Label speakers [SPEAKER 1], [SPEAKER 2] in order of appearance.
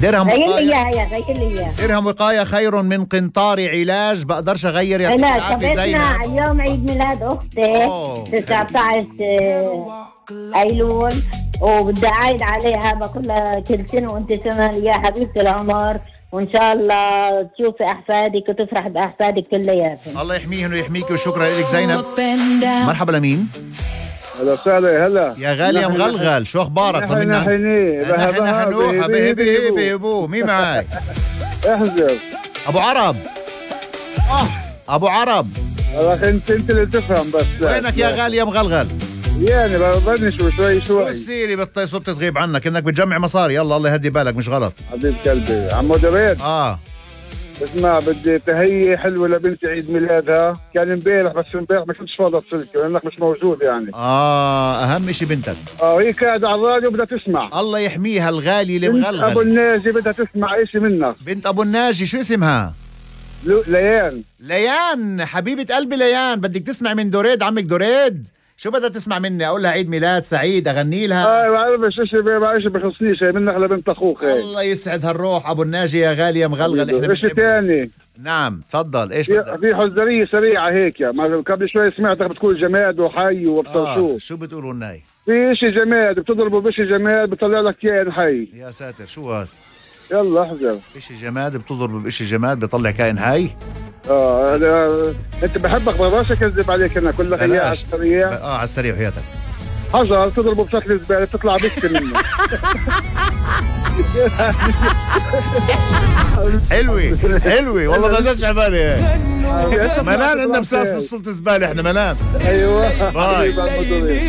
[SPEAKER 1] درهم
[SPEAKER 2] غير لي
[SPEAKER 1] وقاية
[SPEAKER 2] اياها غير لي اياها.
[SPEAKER 1] درهم وقاية خير من قنطار علاج. بقدرش اغير يا
[SPEAKER 2] لا
[SPEAKER 1] العافية زينب.
[SPEAKER 2] شبابنا اليوم عيد ميلاد اختي 19 ايلول، وبدي اعيد عليها بقول لها كل سنه وانت سنه يا حبيبتي العمر، وان شاء الله تشوفي احفادك وتفرح باحفادك كلياتهم.
[SPEAKER 1] الله يحميهم ويحميك وشكرا لك زينب. مرحبا لمين؟
[SPEAKER 3] هلا وسهلا. هلا
[SPEAKER 1] يا غالي يا مغلغل، شو اخبارك؟ طمنا.
[SPEAKER 3] نحن
[SPEAKER 1] حنوح هبي هبو. مين معاي؟
[SPEAKER 3] احذر
[SPEAKER 1] ابو عرب. ابو عرب
[SPEAKER 3] والله انت اللي تفهم بس.
[SPEAKER 1] وينك يا غالي يا مغلغل؟
[SPEAKER 3] يعني بدني شوي
[SPEAKER 1] سيري صرت تغيب عنك انك بتجمع مصاري. يلا الله يهدي بالك، مش غلط
[SPEAKER 3] حبيب قلبي. عمو دريد اسمع، بدي تهيئة حلوة لبنتي عيد ميلادها. كان امبارح بس امبارح ما كنتش فاضي اتصلك لانك مش موجود يعني.
[SPEAKER 1] اهم شيء بنتك.
[SPEAKER 3] وهي قاعدة على الراديو بدها تسمع.
[SPEAKER 1] الله يحميها الغالي اللي مغلغل.
[SPEAKER 3] بنت ابو الناجي بدها تسمع اشي منك.
[SPEAKER 1] بنت ابو الناجي شو اسمها؟
[SPEAKER 3] ليان.
[SPEAKER 1] ليان حبيبة قلبي ليان، بدك تسمع من دوريد عمك دوريد. شو بدها تسمع مني؟ اقول لها عيد ميلاد سعيد، اغني لها؟
[SPEAKER 3] ما بعرفش اشي بخصنيش منك لبنت اخوك.
[SPEAKER 1] الله يسعد هالروح ابو الناجي يا غالي يا مغلغل.
[SPEAKER 3] اشي ثاني.
[SPEAKER 1] نعم تفضل. ايش
[SPEAKER 3] في حزرية سريعة هيك ما قبل شوي سمعتك بتقول جماد وحي وبطل
[SPEAKER 1] شو بتقولوا لنا؟
[SPEAKER 3] في اشي جماد بتضربه بشي جماد بيطلع لك كائن حي.
[SPEAKER 1] يا ساتر شو هذا؟
[SPEAKER 3] يلا احذر.
[SPEAKER 1] اشي جماد بتضربه بشي جماد بيطلع كائن حي.
[SPEAKER 3] انت بحبك ما بقدرش اكذب عليك انا كل لك اياها على السريع.
[SPEAKER 1] على السريع وحياتك.
[SPEAKER 3] حجر تضربه بشكل زباله بتطلع بس منه.
[SPEAKER 1] حلوة والله ما جاتش على بالي. منان عندنا مساس بصلة زبالة احنا منان.
[SPEAKER 3] ايوه باي.